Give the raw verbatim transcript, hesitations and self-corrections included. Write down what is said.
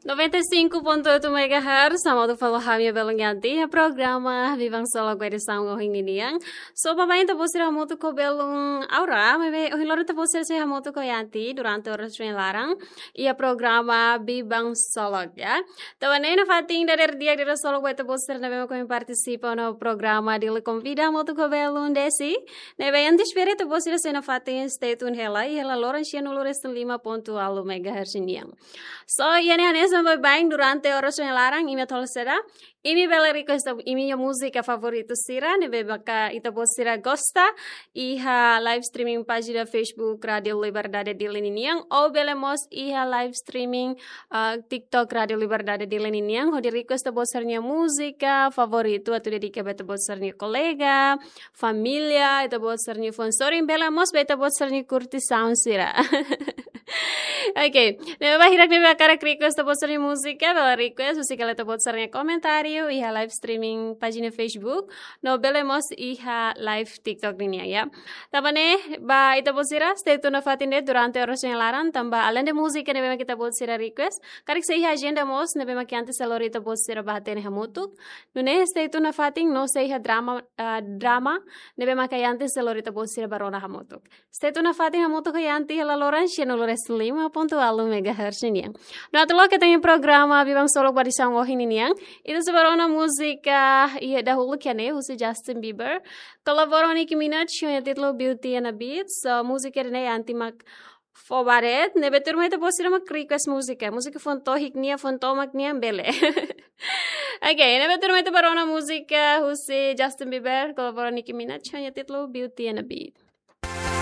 Noventa e cinco ponto oito megahertz, hamutuk fali ho ami iha belun iha tiha programa Biban Solok ba edisaun ohin nian. So, baibain ita-boot sira hamutuk ho belun Aura, maibé ohin loron ita-boot sira sei hamutuk ho Yanti durante oras ohin laran iha programa Biban Solok, ya. Tanba ne'e nafatin dadeer di'ak, dadeer solok ba ita-boot sira ne'ebé mak ohin partisipa ona programa Dili Konvida hamutuk ho belun Desi. Ne'ebé Yanti espera ita-boot sira sei nafatin stay tune hela, iha hela loron sianulu resin lima pontu ualu megahertz nian. So, iha ne'e hanesan baibain durante oras ohin laran, imi atu halo saida? Imi bele request imi-nia múzika favoritu sira, ne'ebé maka ita-boot sira gosta, iha live streaming pájina Facebook Rádio Liberdade Dili ninian, ou bele mós iha live streaming, ah, TikTok Rádio Liberdade Dili ninian, hodi request ita-boot sira-nia múzika favoritu, atu dedika ba ita-boot sira-nia kolega, família, ita-boot sira-nia fã-sorin, bele mós ba ita-boot sira-nia kurtisaun sira. Oke, ne'ebé ba hirak ne'ebé hakarak request ita-boot sira-nia múzika, bele request husi kala ita-boot sira-nia komentáriu iha live streaming pájina Facebook, no bele mós iha live TikTok ninian, ya. Tanba ne'e, ba ita-boot sira, stay tune nafatin de'it durante oras ohin laran, tanba além de múzika ne'ebé mak ita-boot sira request, karik sei iha ajenda mós ne'ebé mak Yanti sei lori ita-boot sira ba hatene hamutuk. Nune'e stay tune nafatin, no sei iha drama, ah, drama ne'ebé maka Yanti sei lori ita-boot sira ba rona hamutuk. Stay tune nafatin hamutuk ho Yanti iha hela loron sianulu resin lima pontu ualu megahertz nian. No atu loke ita-nia programa Biban Solok ba edisaun ohin nian, ita sei ba rona múzika iha dahuluk iha ne'e husi Justin Bieber kolabora ho Nicki Minaj, ho nia títulu Beauty and a Beat. So, múzika ida-ne'e Yanti mak fó ba de'it, ne'ebé tuirmai ita-boot sira mak request múzika, múzika foun-tohik nian, foun-tomak nian bele. Oke, ne'ebé tuirmai ita ba rona múzika husi Justin Bieber kolabora ho Nicki Minaj, ho nia títulu Beauty and a Beat.